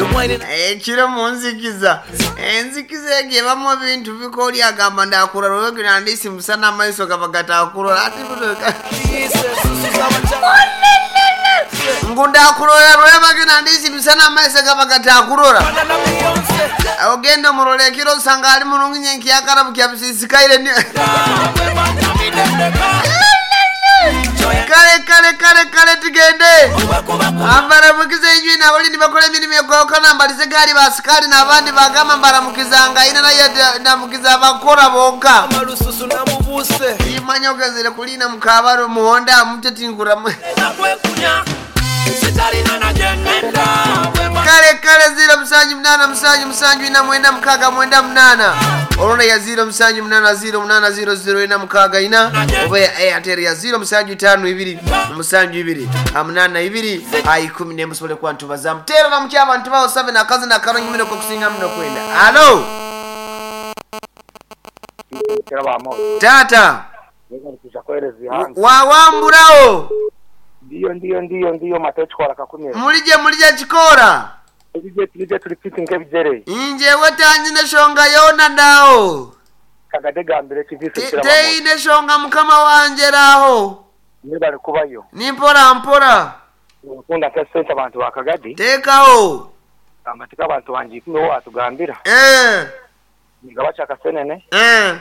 Ekiro munzikiza enzikiza egyo ebamu ebintu bika oli agamba ndakurora oyogira ndisi musana amaiso gaba gatakurora ati ngu ndakurora lwebagina ndisi musana amaiso gaba gatakurora ogenda omurora ekiro osanga ali murungi nyenkiyakarabu kyabisisikaire ni kale kale kale kale tugende ambaramukiza inywi nabalindi bakola emirimu ekwawukana mbalize gaali basikaali n'abandi bagamba mbaramukizanga ina naye ndamukiza abakora bonka Malususu namubuse imanya ogezere kulina mukabaro muhonda mutetinkuramu nakwekunya sitalina nagengenda kale kale 0787774968 olonda ya 0780800464 oba ya airtel ya 075272 82 musobole kuba ntubazamu teera namuky abantu bawo 7 akazi nakalongi muno kokusinga muno kwenda alo tata wawamburawo Ndiyo, ndiyo, ndiyo, ndiyo, matechikora kakumira. mulije mulije kikora Tulije, tulije, tuli nk'ebigereye. injewe tanyine shonga yona ndawo Kagade gambire kivisi kirabamo. teine shonga mukama wanje raho Niba kubayo. ni mpora mpora Ukunda nka sente abantu ba Kagadi, tekawo amatika abantu bangi ikumi wo atugambira. eh Nigaba cha kasenene, eh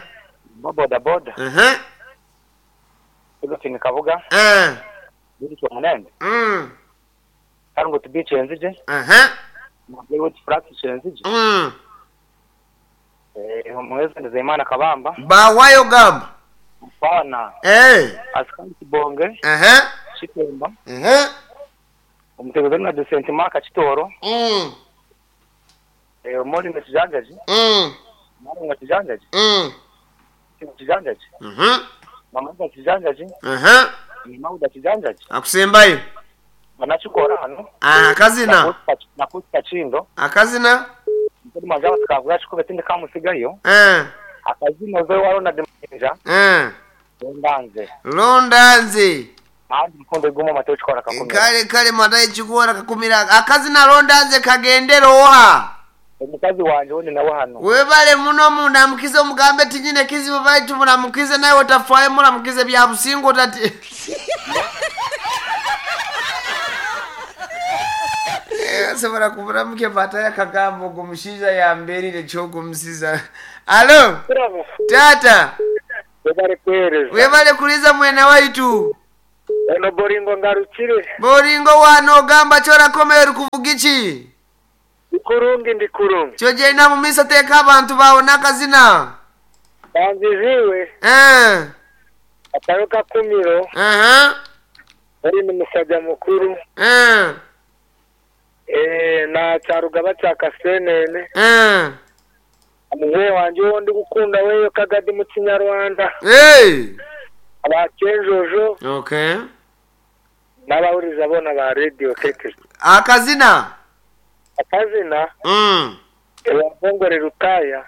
ba boda boda, eh Josephine Kabuga, eh Biri Munende. Karungu tubiche enzije, eh Mablewood Francis enzije. Eh, Mwezi Nzeyimana Kabamba, bawayo gamba Mfana, eh Asikani Kibonge, eh Chitemba, eh Umutegozi na Decent Mark Chitoro, eh, Moli Mesijanjaji, Marunga Kijanjaji, Kijanjaji, Mamaza Kijanjaji, Mauda Kijanjaji, akusembayo banachikora hano akazina nakusi kachindo akazina mukuru manja bakavuga chikube tinde kamusigayo eh akazina zo warona demenja eh ndanze londanze andi mkondo gumo mateo chikora kakumira kale kale matayi chikuora kakumira akazina londanze kagendera oha omukazi wanje woni nawe hano webale muno mundamukize omugambe tinyine kizibu baitu muramukize nawe otafwayo muramukize bya busingo otati Eh, asobola kumuramuke matayi akagamba ogwo mushiija yamberire kyogumusiza alo tata webale kuhereza webale kuliza mwena waitu eno boringo ngarukire boringo wano ogamba kyorakomera kuvuga iki ndikurungi ndikurungi kyogenda mumisa teeka abantu bawe n'akazina banziziwe Eh, atayo kakumiro aha, ori ni musaja mukuru eh, eh, na kyarugaba kya kasenene eh. muzehe wanje uwo ndi gukunda weyo kagadi mu kinyarwanda Hey! abakenjojo Okay. n'abahuriza bona ba radio keke Akazina. akazina ewabongore rutaya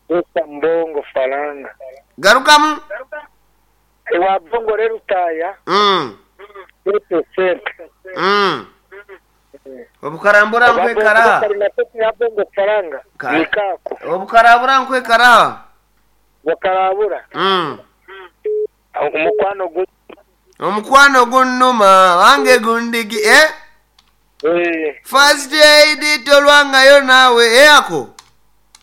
Musa mbongo faranga Garukamu. ewabongore rutaya Musa sente Obukarambura nkwekara. ya bongo faranga nikako Obukarabura nkwekara. bakarabura umukwano gu Omukwano gunnuma wange gundigi eh? eh First aid tolwangayo naawe eh ako.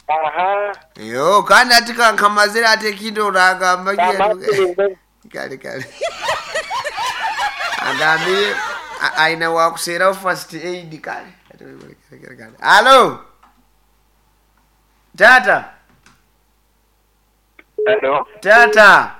aha Yo kandi ati kankamazire ate ekintu olagamba Amasi- kale kale agambire aina wakuseerawo first aid kale alo tata Hello. tata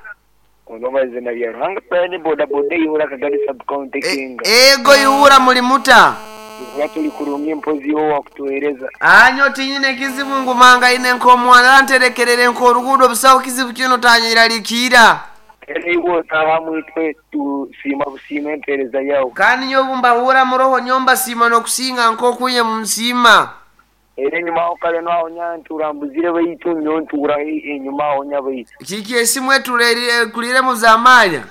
Ngoma izina lya Ruhanga pene boda boda ihura Kagadi sub county Kinga. ego iwura muli muta Ihura tuli kurungi mpozi yo wakutuhereza. anyo tinyine kizibu ngumanga ine nkomwana nterekerere nkorugudo busawo kizibu kino tanyiralikiira Ere iwo tahamu itwe tusima busima empereza yawo. kandi nyobu mbahura muroho nyomba sima nokusinga nkokunye munsiima Ere enyuma aho kale nwaho nyantura mbuzire baitu nyontura enyuma aho nyabaitu. kiki esimu etulerire kulire muzamanya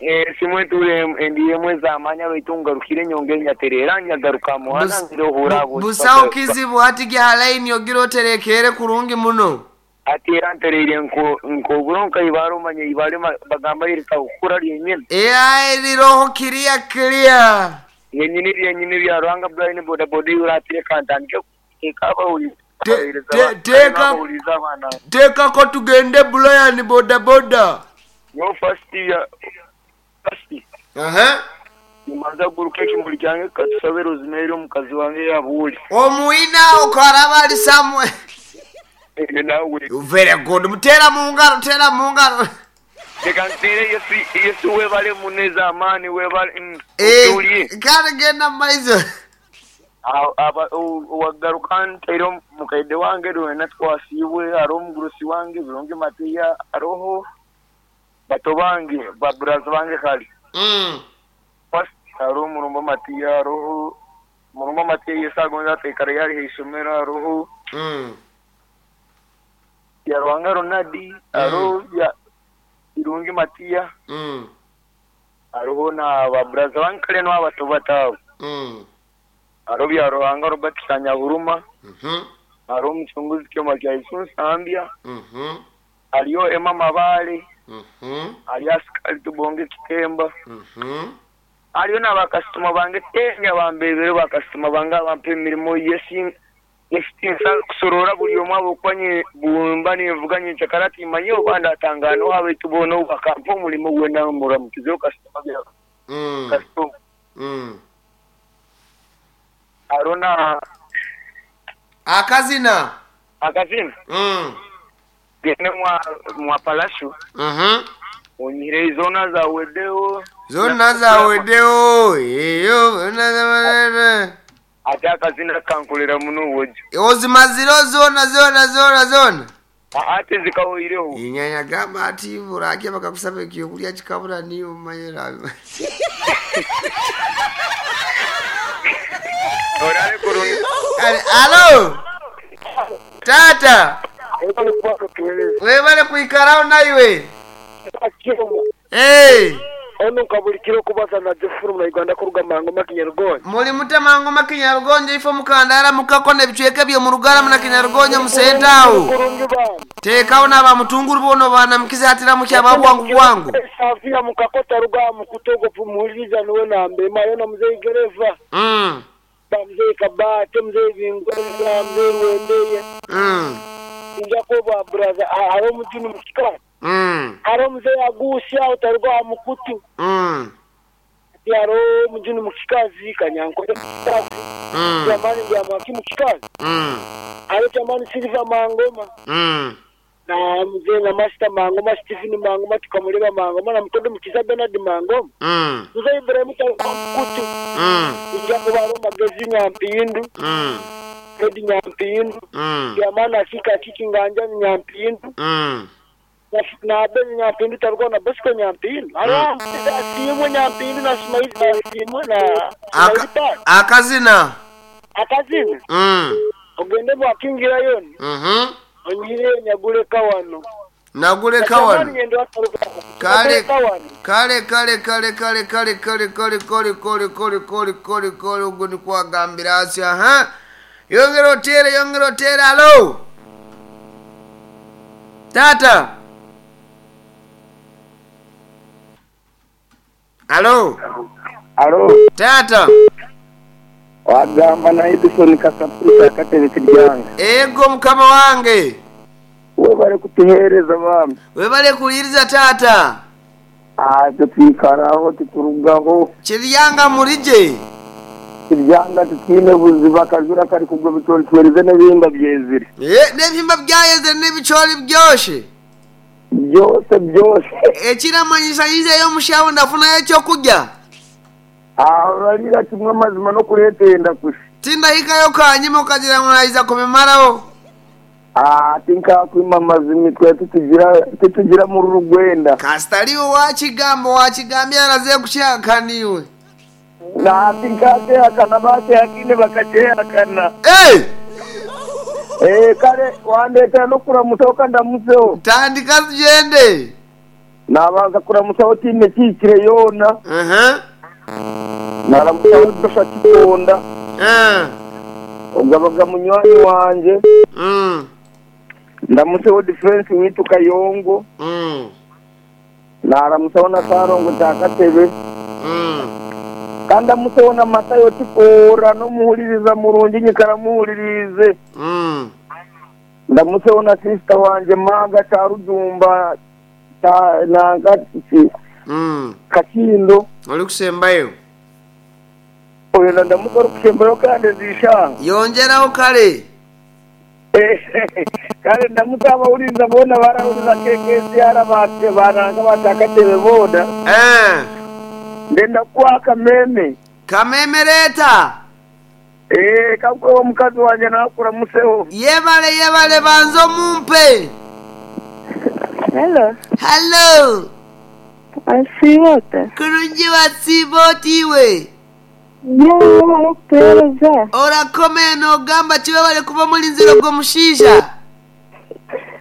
Esimu etuura endiiremu ez'amaani baitu ngarukire nyongere nyatereera nyagaruka aha muhanda nzire ohuure abo Busaho kizibu hati gya ha layini ogire oterekeere kurungi muno. Hati era ntereire nk'oburo nka ibaare omanya eibaare bagamba ritahukura ryenyine. Eai riroho kiriya kiriya. Ryenyine ryenyine ebya Ruhanga Brian bodaboda ei orateeka ntandike kuteeka abahuriize abaana. Teekako tugende Brian bodaboda. Nyowe first first nimbanza kuguruka ekimuri kyange katusabe Rosemary omukazi wange yaaba ori. Omwine aho karaba ari somewhere. Ebyo nawe. Very good. Muteera mungaro, teera mungaro. Reka nteere Yesu, Yesu webale muno ez'amaani webale Eh, otuurye. kare genda mumaiso. Wagaruka ntaire mukaide wange Rwena Twasiibwe, hariho omugurusi wange Birungi Matiya, hariho bato bange ba buraza bange kare. First hariho Murumba Matiya, hariho Murumba Matiya Yesu agonze ataikara yari haishomero, hariho Byaruhanga Ronald, hariho Birungi Matiya, hariho na ba buraza bange kare nibo abato bato abo. Hariho Byaruhanga Robert Kanyahuruma, hariho Omucunguzi Kyoma kya Isu Nsambya, hariyo Emma Mabale, hariyo Asikari Tubonge Kitemba, hariyo na bakasitoma bange tenya bambebere bakasitoma bange abampa emirimo yesitinsa kusoroora buri omwe ahabw'okuba bumba ninvuga nyencakara timanya oba ndatangana oha baitu boona obu bakampa omurimo gwena muramukizeho kasitoma kasitoma. Hariho na. Akazina. Akazina? Gende mwa Palasho. Onyihireyo zoona zaweddeho. Zoona zaweddeho eyo zoona zaweddeho. Ate akazina kankorera muno obwojo. Ozimazireho zoona zoona zoona zoona? Ate zikahoireho. Inyanya gamba ati burake bakakusaba ekyokurya kikabura niiwe omanye Orare kurungi. Kale, alo! Taata! Webale kwikaraho naiwe. Hey! Onu nka buri kiro okubaza na Geoffrey Munauganda kuruga Mangoma Kinyarugonje. Muri muta Mangoma Kinyarugonje ifo mukandara mukako n'ebicweka ebyo Rugarama na Kinyarugonje omu senta aho. Kurungi bambi. Teekaho n'aba Mutunguru boona obanamukize hati ramukya aba bwangu bwangu. Safia mukako taruga aha mukutu ogwo muhuririza niwe namba emwe hariyo na muzeeyi Gereva, ba muzeeyi Kabaate, muzeeyi Bingweza, muzeeyi Rwendeye. Ningira ba buraza hariho Mujuni Mukika. Hariho muzeeyi Agusi aho taruga aha mukutu. Hati hariho Mujuni Mukikazi, Kanyankore Mukikazi, Kyamani Ndyamwaki Mukikazi. Hariho Kyamani Silver Mangoma. Na mzee na Master Mangoma, Stephen Mangoma, Tukamureba Mangoma na Mukondo Mukiza Bernard Mangoma. Mzee Ibrahim taruga aha mukutu. Ningira kuba hariho Magezi Nyampindu. Fred Nyampindu. Kyamani Akika Akiki Nganja Nyampindu. Na Abel Nyampindu taruga na Bosco Nyampindu. Hariho Asiimwe Nyampindu na Smaizi Asiimwe na Smaizi Park. Akazina. Akazina. Ogende bwakingira yona. Onyire nyaguleka wano. Naguleka wano. Kale Kale. kale kale kale kale kale kale kale kale kale kale kale kale kale ogwo nikwagambira asi aha. Yongera oteere yongera oteere alo. Taata. Alo. Alo, Taata. wagamba na Edison Kasapurisa akatebe Kiryanga. Ego mukama wange. Webale kutuheereza bambi. Webale kuhuririza taata. Tutwikaraho titurugaho. Kiryanga murigye. Kiryanga titwine buzibu akajura kari kugwa ebitoori twerize n'ebihimba byezire. N'ebihimba byayezire n'ebicoori byoshe. Byose byose. Ekiramanyisa nyizeyo omushaho ndafunayo ekyokurya. Orarira kimwe amazima n'okureeta enda kusha. Tindahikayo kanyima okagira ngu naija kubimaraho. Tinkakwima amazima itwe titugira mururu gwenda. Kasita ariwe wakigamba wakigambye araze kukyehakana iwe. Tinkakyehakana bakyehakaine bakakyehakana. Kare wandeetera n'okuramutsa okandamutseho. Tandika tugyende. Nabanza kuramusaho tiimu ekiikire yoona. Naramusaho Joshua Kikonda. Ogwo abaga munywani wangye. Ndamuseho difensi waitu Kayongo. Naaramusaho na Saalongo Kyakatebe. Ka ndamuseho na Matayo Kikoora n'omuhuririza murungi nyikara muhuririize. Ndamuseho na siisita wangye Maaga Kyarujumba kya nanka ki Kakindo. Orikusembayo. Oyo na ndamusa orikusembayo kandi ezi shaaha. Yongyeraho kare. Kare ndamutse abahuririza boona abarahurira KKCR ba nanka ba Kyakatebe boona. Ndenda kukuha akameeme. Kameeme reeta. Eeh kankuhe omukazi wangye naakuramuseho. Yebare yebare banza omumpe. Hello. Hallo. Wasiiba ota? Kurungi wasiiba ota iwe? Mbwenu webare kutuhereza. Orakomeye nogamba ki webare kuba omurinzire ogwo mushaija.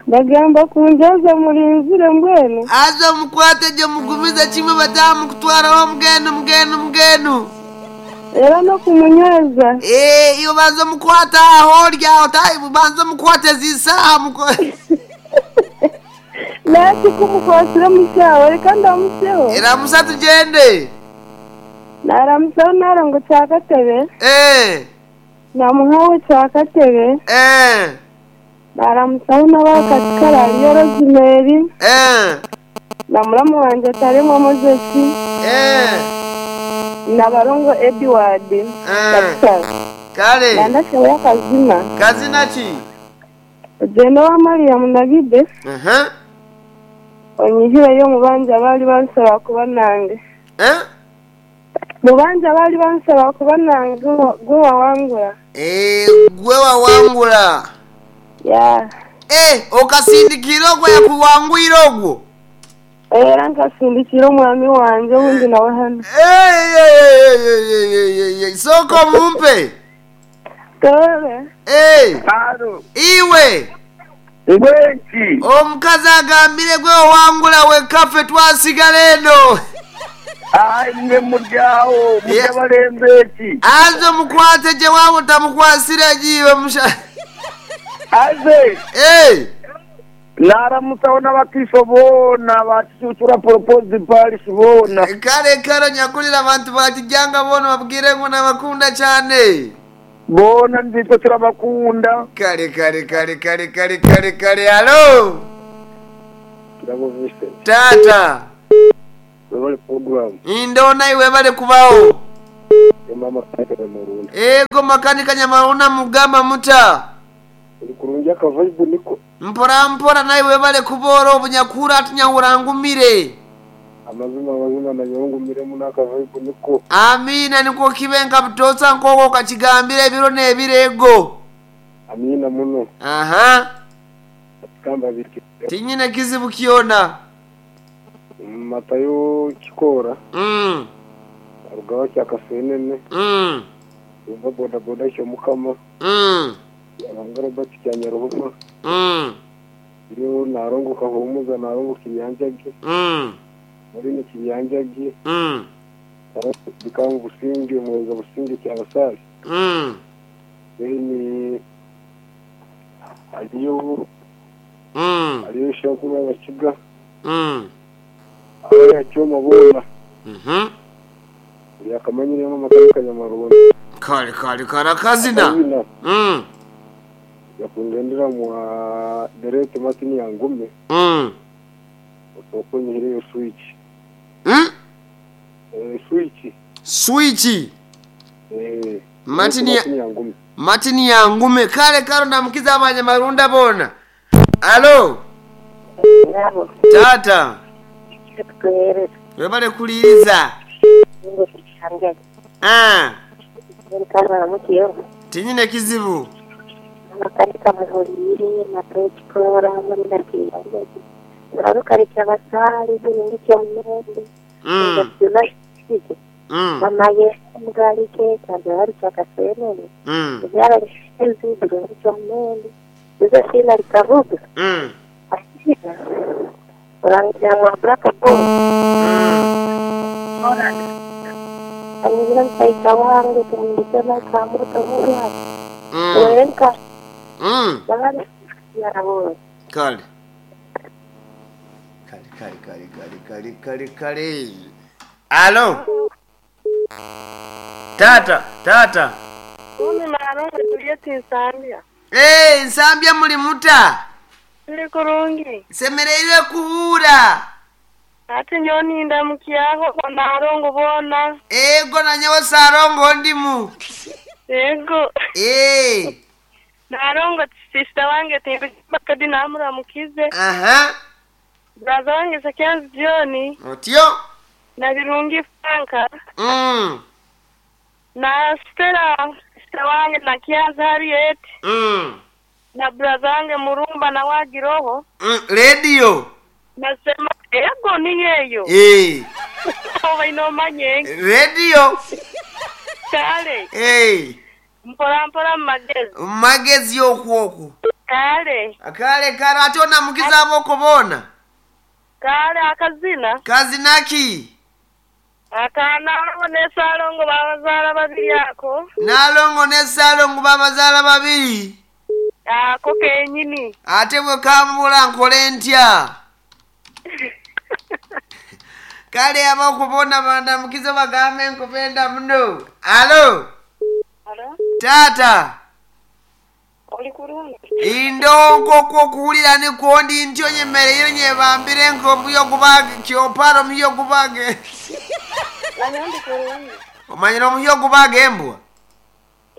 Bagamba ku nzooza murinzire mbwenu. Haza omukwate gye omugumize kimwe batamukutwaraho mbwenu mbwenu mbwenu. Era n'okumunyweza. Eeh iwe banza omukwate aho ori aho banza omukwate ezi isaaha. Naki ku mukwatsire omu shaaha reka ndamutseho. Ramusa tugyende. Naaramutsaho Nalongo Kyakatebe. Eeh. Na muhaawe Kyakatebe. Eeh. Naaramutsaho n'aba Katikara hariyo Rosemary. Eeh. Na muramu wangye Taremwa Moses. Eeh. Na Barongo Edward. Eeh. Katikara. Kare. Na ndashaho akazina. Kazina ki? Ogyende owa Mariam Nabide. Aha. Onyihireyo omu bangi abaali bansaba kuba nange. Eh? Mu bangi abaali bansaba kuba nange gwe wawangura. Eh, gwe wawangura. Yeah. Eh, okasindikira ogwo yakuwangwire ogwo? Era nkasindikira omwami wangye obundi nawe hanu. Hey, hey, hey, hey, hey, hey, hey. Sooka omumpe. Toore. Hey. Halo. Iwe. Ngweki. Omukazi agambire gwe owangula weka ffe twasigala eno. Ai mwe muri aho muri abarembeki. Aze omukwate gye waaba otamukwasire gye iwe musha. Aze. Hey. Naaramutsaho n'abakaiso boona ba Kicuucura Proposed Parish boona. Kare kare nyakurira abantu ba Kigyanga boona obabwire ngu nabakunda kyane. Boona nitwe turabakunda. Kare kare kare kare kare kare kare halo. Kirabo Vincent. Taata. Webale program. Ndoona iwe webale kubaho. Emma Makanika Nyamarunda. Ego Makanika Nyamarunda mugamba muta? Ndi kurungi aka vibe niko. Mpora mpora naiwe webale kuba ori obunyakura ati nyahura ngumire. Amazima amazima nanyowe ngumire muno aka vibe niko. Amiina nikwo kibe nka butosa nkoku okakigambire ebiro nebiro ego. Amiina muno. Aha. Ati kambabike. Tinyine kizibu kyona. Matayo Kikoora. Arugaho Kyakaseenene. Yumba bodaboda Kyomukama. Ruhanga Robert Kyanyaruhuma. Iriho Narongo Kahumuza, Narongo Kibyanjagi. Maureen Kibyanjagi. Bikamu Businge, Muhweza Businge Kyabasaali. Then hariyo hariyo Ishenkuru Abakiga. Abari aha kyoma boona. Buri akamanyire n'amakara Kanyamarunda. Kare kare kare akazina. Akazina. Yakungendera mwa Derete Martin Yangume. Osooke onyihireyo switch. Switch. Switch. Martin Martin Yangume. Martin Yangume. Kare kare ndamukiza abanyamarunda boona. Alo. Nyabo. Taata. Tukuheereza. Webale kuliiriza. Ah. Tinyine kizibu. Orangira ngu Black Bull. Anyizire musaija wange tumwite Mike Amoto Murwa. Wenka. Bari yarabonye. Kale. Kale kale kale kale kale kale kale. Alo. Tata, tata. Kumi narongo Juliet Nsambya. Eh, Nsambya muli muta. Tuli kurungi. Semereirwe kuhura. Ati nyowe nindamukyaho narongo boona. Ego na nyowe sarongo ndimu. Ego. Eh. Narongo sister wange timbakadi namuramukize. Aha. Brother wange Sekyanzi John. Otyo. Na Birungi Franka. Na Stella sister wange na Kyanzi Harriet. Na brother wange Murumba na Wagiroho. Radio. Nasema ego ni yeyo. Eh. Oba inomanye. Radio. Kale. Eh. Mpora mpora mumagezi. Mumagezi okwo. Kale. Kale kale ate onamukiza aboko boona. Kale akazina. Kazinaki. Akanalongo ne Salongo babazaala babiri ako. Nalongo ne Salongo babazaala babiri. Ako kenyini. Ate bwe kambula nkole ntya? Kale abokubona bandamukiza bagambe nkupenda muno. Alo. Alo. Tata. Oli kurungi. Indongo kwokuwulira nikwo ndi ntyo nyemereire nyebambire nkombuyo kubage kyoparo muyo kubage. Nanyo ndi kurungi. Omanyire omuyo kubage embwa.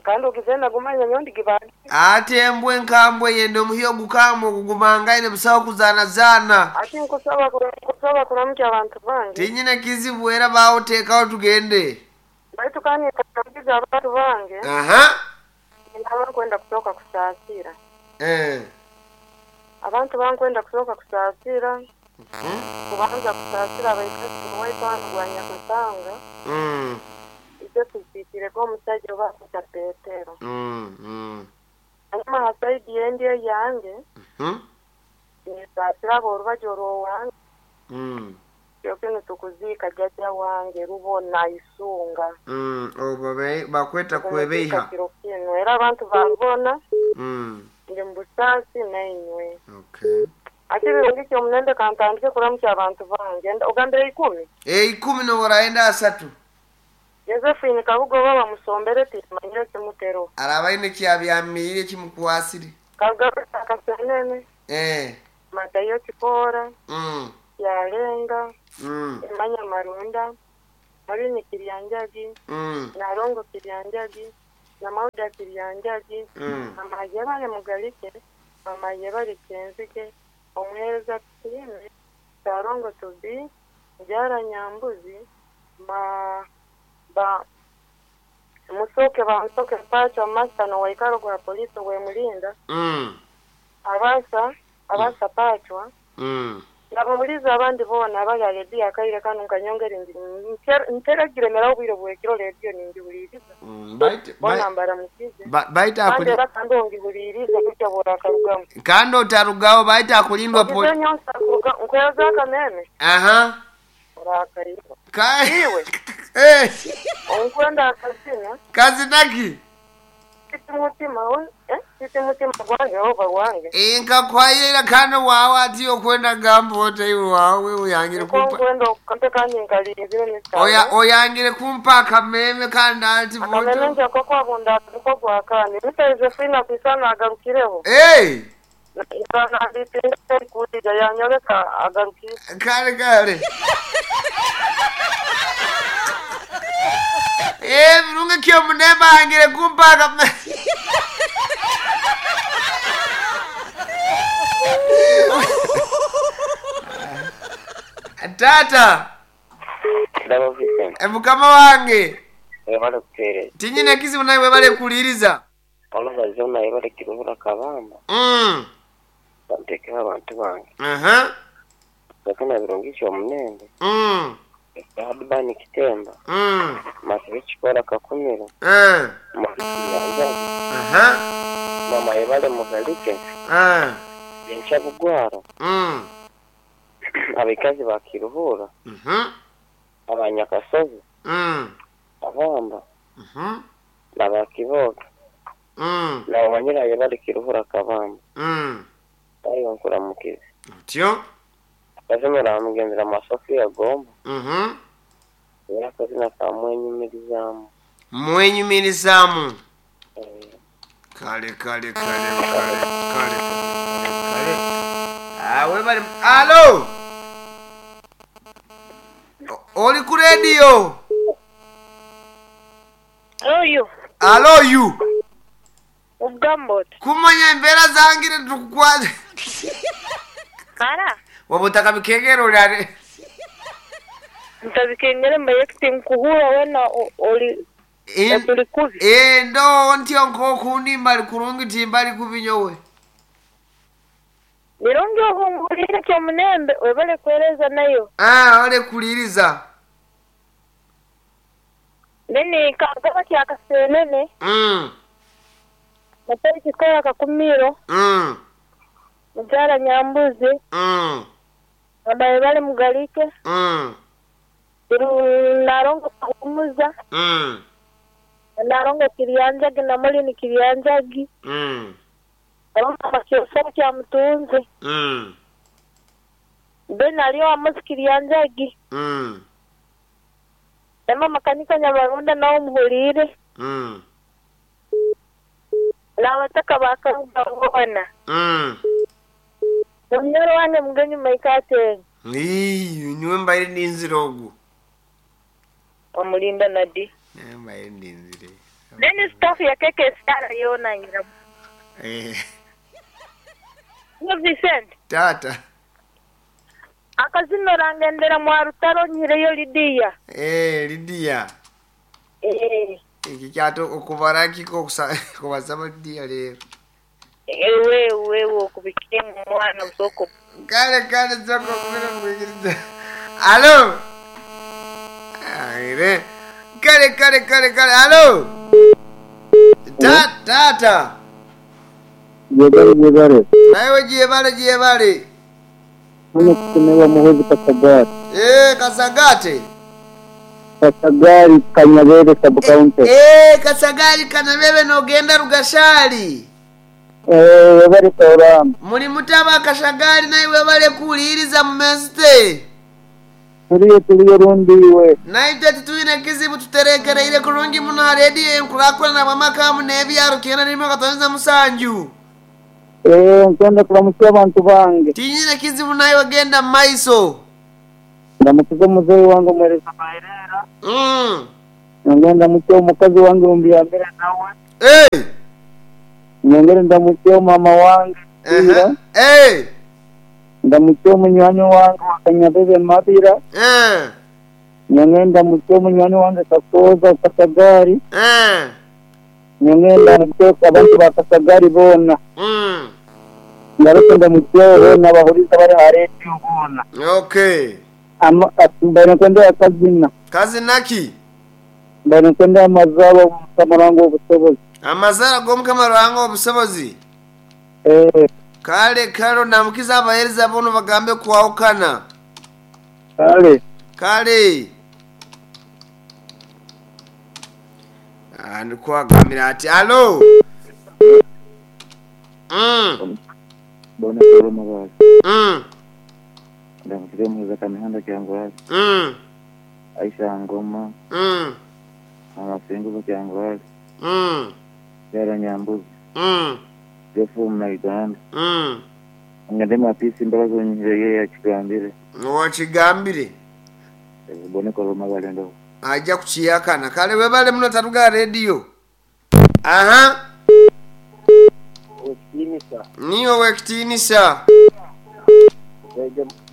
Kandi okizenda gumanya nyondi gibage. Ate embwa enkambwe yenda omuhyo gukambwe okugumangaine busaho kuzaanazaana. Ati nkusaba kuramukya abantu bange. Tinyine kizibu era bawoteekawo tugende. Baitu kandi nkaramkiza abantu bange. Aha. Naba nkwenda kusooka kusaasira. Eh. Abantu bankwenda kusooka kusaasira. Kubanza kusaasira abaikasi waitu hano gwa Nyakatanga. Ise tusiikireko omusajja oba akuta Petero. Hanyuma ha saidi endi eyange. Nisaasira ab'orubaju orw'owange. Kyoke nitukuziika jjajja wange Rubona Isunga. Obo bakweta kwebeiha. Kiro kinu era abantu barubona. Ndi mu busaasi nainywe. Okay. Ate birungi kyomunende kantandike kuramukya abantu bange. Ogambire 10? Eh, 10 noraenda 3. Josephine Kabugo baba musombere timanyire kimutero. Arabaine kyabyamiire kimukwasire. Kagaruka kasenene. Eh. Matayo Kikora. Yalenga. Emanya Marunda. Marini Kiryanjagi. Narongo Kiryanjagi. Namauda Kiryanjagi. Mama Yebale Mugalike. Mama Yebale Kenzike. Omuhereza Kiyeme. Sarongo Tubi. Njara Nyambuzi. Ma ba musoke ba musoke pacha master no waikaro kwa polisi we mulinda. Abasa pachwa. Nababuliza abandi bona abali redio akaire kanu nkanyongera nteragire mera obwire bwekiro redio ningibuliriza. Bona mbaramukize. Baita akuli kandi ongibuliriza kutya bora karugamu. Kandi otarugaho baita akulindwa polisi. Nkweza akameme. Aha. Orakairwa. Kai. Iwe. Eh. Onkwenda akazina. Kazinaki. Kiti mutima gwange oba gwange. Nkakwayira kandi wawe ati okwenda gamba ote iwe wawe oyangire kumpa. Okwenda okampe kandi nkalindire nisaba. Oya oyangire kumpa akameme kandi ati Akameme nja koko abunda koko gwakani. Mr. Josephine kwisana agarukireho. Eh. Nandipinda kulija yanyoleka agarukire. Kale kale. Eh, birunga kyo munema angire kumpa akameme. Tata. Ndaba Vincent. Mukama wange. Webale kuteereza. Tinyine kizibu nawe webale kuliriza. Olubazi naye webale kirubura kabamba. Bantekeho abantu bange. Aha. Bakana birungi kyomunende. Hadbani Kitemba. Masibe Kikora Kakumiro. Aha. Mama Yebale Mugalike. Yencha Bugwaro. Abaikazi ba Kiruhura, aba Nyakasozi, Kabamba, n'aba Kiboga, nabo banyirayo bari Kiruhura Kabamba. Ayo nkuramukize. Otyo. Akazina oramugendera mwa Sophia Gomba. Era akazina ka mwenyumirizaamu. Mwenyumirizaamu. Kale kale kale kale kale kale. Ah, webale. Alo. Oli ku radio. Oyo. Alo you. Ogamba oti. Kumanya embeera zangire tukukwate. Ara. Waba otakabikengera ori are. Ntabikengere mbaire tinkuhurra wena oli oturi kubi. Eh, ndo ntyo nk'oku mbari kurungi timbari kubi nyowe. Birungi ohungurire kyomunembe webale kwereza nayo. Ah, ole kuliriza. Nene kagaba kya kasenene. Matari kikora kakumiro. Mubyara Nyambuzi. Abaye bale mugalike. Narongo kahumuza. Narongo kiryanjagi na mulini kiryanjagi. Narongo makyoso kya mutunzi. Ben aliyo amuzi kiryanjagi. Ema makanika nyabarunda nawo muhulire. N'abataka bakaruga boona. Munyoro wange mugenyi maikatenga. Ii, niwe mbaire ninzire ogu. Omulinda nadi. Niwe mbaire ninzire. Then staff ya keke sara yona ngira. No Vincent. Tata. Akazino rangendera mwa rutaro nyireyo Lydia. Lydia. Iki kyato okubara kiko kubasaba Lydia lero. Ewe wewe okubikiye mwana usoko. Kale kale soko kumira mwigiriza. Alo. Aire. Kale kale kale kale alo. Tata. Jebale jebale. Nawe jebale jebale. Hano kutumewa muhozi Kasagari. Kasagate. Kasagari Kanyabebe sub county. Kasagari Kanyabebe nogenda Rugashali. Webale Tauram. Muri mutaba Kasagari naye webale kuliriza mumesite. Tuliyo rundi iwe. Naitwe tituine kizibu tuterekereire kurungi muno ha rediyo enkurakura na bamakamu n'ebyaro kyenda rimwe katonza musanju. Nkwenda kulamukia abantu bange. Tinyine kizibu naye wagenda maiso. Ndamukiza muzeyi wange mwereza Maherera. Nyongera ndamukia omukazi wange mbyambire nawe. Nyongera ndamukia mama wange. Ndamukia omunywani wange wa Kanyabebe Mabira. Nyongera ndamukia omunywani wange Kasoza Kasagari. Nyongera ndamukia abantu ba Kasagari boona. Ngaruka ndamukia boona bahuriza bari ha rediyo boona. Okay. Mbaire nkwenda akazina. Kazina ki? Mbaire nkwenda amazara g'Omukama Ruhanga obusobozi. Amazara g'Omukama Ruhanga obusobozi? Kale kale namukiza abahereza bono bagambe kwawukana. Kale. Kale. Ndikwagambira ati alo. Bona kolo mabazi. Ndamukiza muhiza kamihanda kyangwazi. Aisha Ngoma. Amasenguzo kyangwazi. Yara Nyambuzi. Jefu mna Uganda. Ngende mapisi mbabazi onyihire ya kigambire. Wakigambire. Bona kolo mabazi ndo. Ajja kuchiyakana. Kale webale muno tatuga radio. Aha. Wekitinisa. Niyo wekitinisa.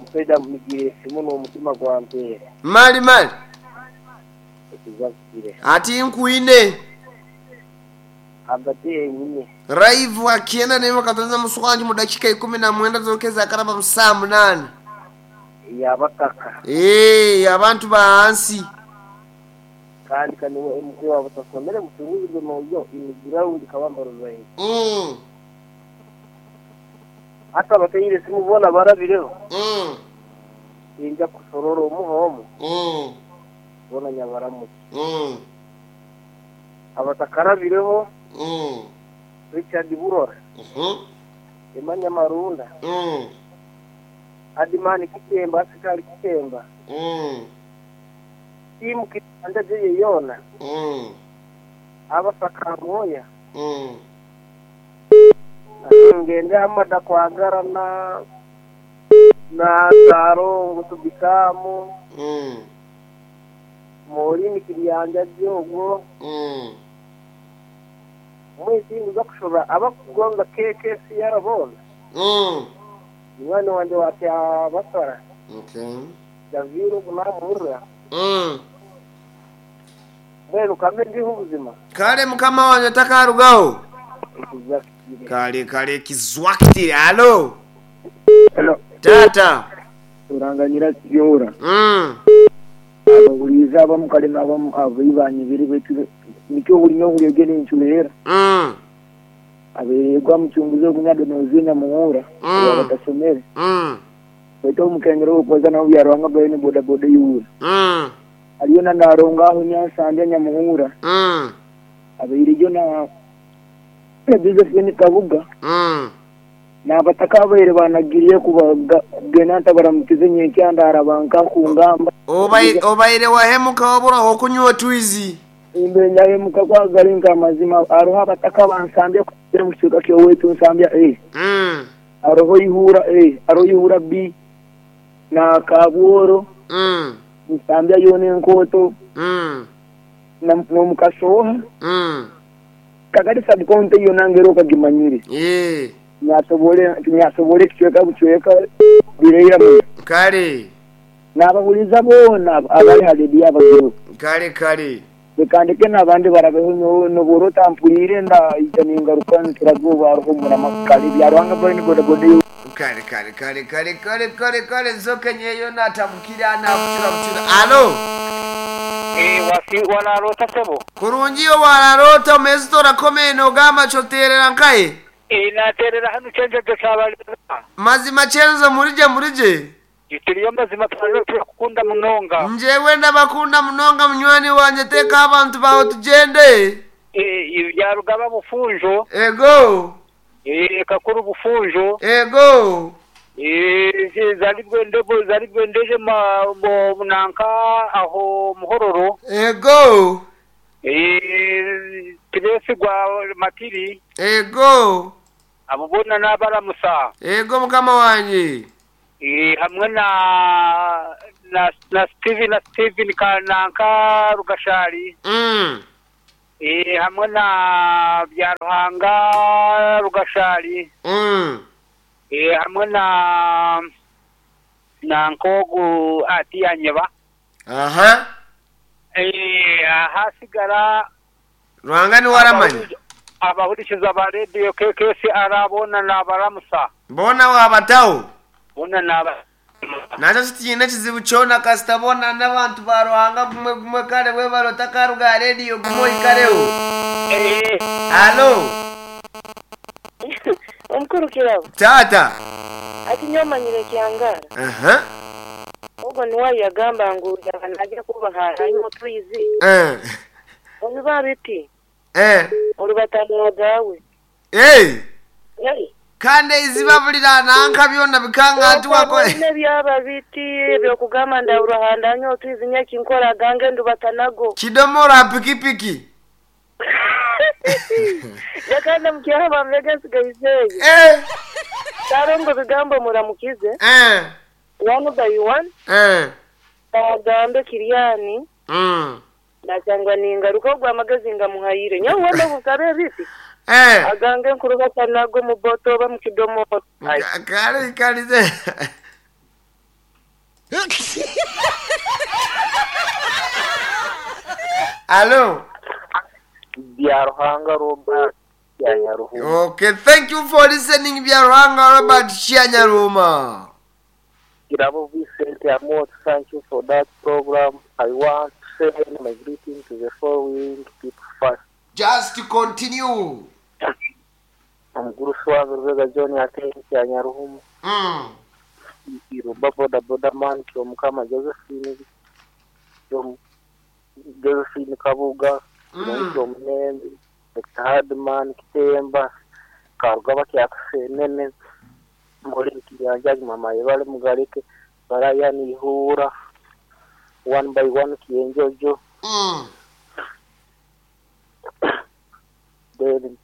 Musaija mugire simu n'omutima gwa mpeera. Mali mali. Ekizakire. Ati nkuine. Hagati yenyine. Raivu akienda nemo katonza muswanji mu dakika 19 zokeza akaraba mu saa 8. Yabakaka. Abantu ba hansi. Kandi kandi mukuru wabo tasomere mutunguzwe mu yo imigiraundi kabamba rubaye. Hata abateyire simu bona barabireho. Ninja kusorora omuha omu. Bona nyabaramuki. Abatakarabireho. Richard Burora. Emanya Marunda. Adimani Kitemba asikali Kitemba. Timu Kitanda jeye yona. Abasakamoya. Ngende amada kwagara na Sarongo tubikamu. Morini kiryanja jogwo. Mwezi uza kushobora abakugonza KKC yarabona. Mwana wanje watya basara. Okay. Javiru kunamurra. Mbwenu kambe ndiho ubuzima. Kale mukama wanje takarugaho. Kale kale kizwakiti. Hello. Hello. Tata. Turanganyira kiyora. Ababuliza abamukale n'abamu abibanye biri betu nikyo buli nyo gene nchulera. Abeegwa muchunguzo kunyado nozinya muhura. Batasomere. Weto mukengero koza na byarwanga bayene boda boda yuura. Aliona ndaronga aho nyansambya nyamuhura. Abeirijo na Josephine Kabuga. N'abataka banagiriye kugenda ntabaramukize nyenkyandara banka kungamba. Obaire wahemuka wabura okunywa twizi. Imbe nyahemuka kwagalinka amazima aroho abataka bansambya kugira mu kibuga kyowetu nsambya A. Aroho ihura A, aroho ihura B na Kabworo. Nsambya yone nkoto. Na mukasoha. Kagari sabkonte yonangero kagimanyire. Nyasobole kichweka buchweka bireira. Kale. Nababuliza bona abali haledi abaguru. Kale kale. Bekandike nabandi barabeho no borota mpulire nda itaningaruka ntirago baruho muramakali byarwanga bari goda goda. Kale kale kale kale kale kale kale nzoke nyeyo natamukira na kuchura kuchura. Alo. Wasi walarota sebo. Kurungiyo walarota mezitora komeno gama choterera nkaye. Inaterera hano chenje gesabali. Mazima chenzo murije. Itiriyo mazima twakunda munonga. Njewe ndabakunda munonga munywani wanje teka abantu bawo tugende. Byarugaba bufunjo. Ego. Kakuru bufunjo. Ego. Zaribwendeje ma munanka aho muhororo. Ego. Tibesigwa matiri. Ego. Abubona n'abaramusa. Ego mukama wanje. Hamwe na Steven Kananka Rugashari. Hamwe na Byaruhanga Rugashari. Hamwe na Nkogu Atiyanyeba. Aha. Hasigara Ruhanga ni waramanya. Abahurishiza ba radio KKC arabona n'abaramusa. Bona wabatawo. Bona naba. Nacho sitine kizibu chona kastabona n'abantu ba Ruhanga gumwe gumwe kale we barota karuga radio gumwe ikareo. Alo. Omukuru kirabo. Tata. Ati nyomanyire kyangara. Aha. Ogo niwa yagamba ngu yabanaje kuba harimo twizi. Obiba biti. Olubatano gawe. Kande izibabulira nanka byonna bikanga nti wakole. Ne byaba biti byokugamba ndawuruhanda nyo twizinya kinkora gange ndubatanago. Kidomora pikipiki. Yakanda mukihaba mlega sigayizeye. Tarongo bigambo muramukize. One by one. Agambe Kiriani. Nachangwa ningaruka gwa magazinga muhayire. Nyo wenda bukabe biti. Agange nkurubata nago muboto ba mukidomo. Kale kale. Hello. Byaruhanga Robert Kyanyaruhuma. Okay, thank you for listening Byaruhanga Robert Kyanyaruhuma. Kirabo Vincent Amot, thank you for that program. I want to send my greeting to the following people first. Just to continue. Omuguru wange Rwega John Ateni Kyanyaruhuma. Irumba boda boda man Kyomukama Josephine Josephine Kabuga Kyomunembe Dr. Hardman Kitemba Karugaba Kyakasenene Molin Kiyanjaji Mama Yebale Mugalike Brian Ihura One by One Kienjojo Then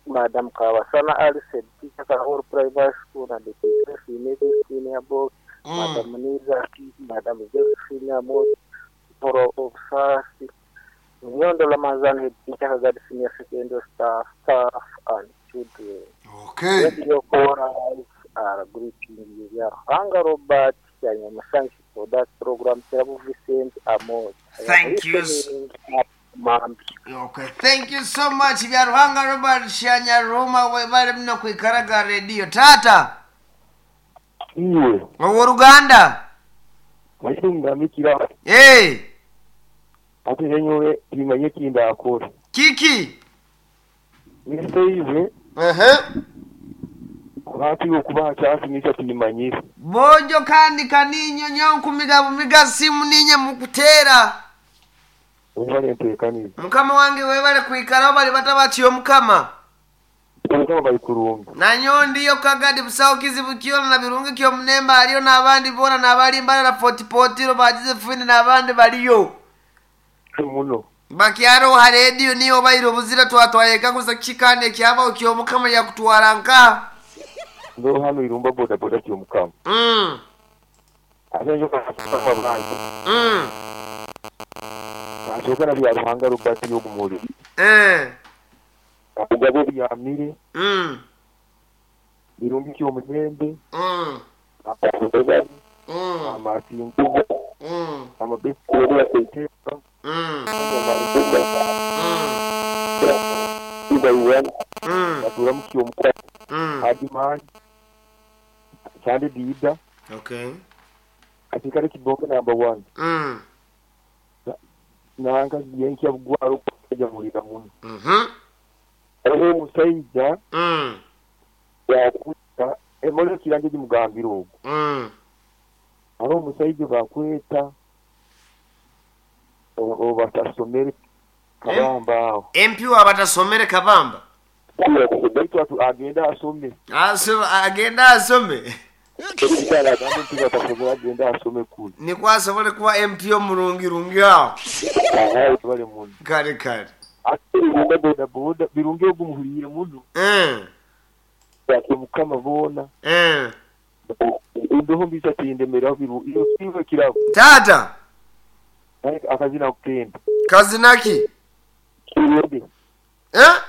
Madam Kawasana Alice teacher Kahoro Primary School and the teachers in senior board Madam Niza Madam Josephine Amot Poro of Sasi Nyondo Lamazan head teacher Kagadi senior secondary staff and children. Okay. Radio chorus are greeting you. Hanga Robert Kyanyama, thank you for that program. Terabu Vincent Amot. Thank you. Okay, thank you so much. Byaruhanga Robert Shanyaruma webale muno kwikaraga radio. Tata. Iwe. Ow'oluganda. Mashingambikira. Hey. Ate nenyowe timanye kindakora. Kiki. Niseiwe. Abantu okuba kyasinyisa timanyire. Bojo kandi kaninyo nyonkumiga bumiga simu ninye mukuteera. Webale nteekaniza. Mukama wange webale kwikaraho bali batabakiyo mukama. Mukama bali kurungi. Nanyo ndiyo Kagadi busawo kizibu kyona na birungi kyomunemba aliyo n'abandi boona n'abali Mbarara Fort Portal ba Josephine n'abandi baliyo. Muno. Bakyaro ha radio niyo baire obuzira twatwayeka gusa kikande kyabaho kyomukama yakutwara nka. Ndo hano Irumba boda boda kyomukama. Ate njo kasaba bantu. Ashoka na Byaruhanga Robert yogumuri. Akugabo byamire. Birungi kyomunembe. Amasingo. Amabesi yateka. Batura mu kyomukama. Hadimani. Sande Dida. Okay. Atikare kibonga number 1. Nanga yenkia bugwaro kujja mulira muno. Hariho omushaija yakwita emole kiranje gimugambira ogwo. Hariho omushaija bakweta obatasomere Kabamba aho. MP wabatasomere Kabamba. Baitu agenda asome. Agenda asome. Agenda asome kule. Nikwo asobole kuba MP omurungi rungi aho. Kare kare. Boda boda birungi ogumuhurire muno. Mukama bona. Imbeho mbisa tindemeraho biru iyo siwe kirabo. Tata. Akazina kukenda. Kazina ki? Kirebe. Eh?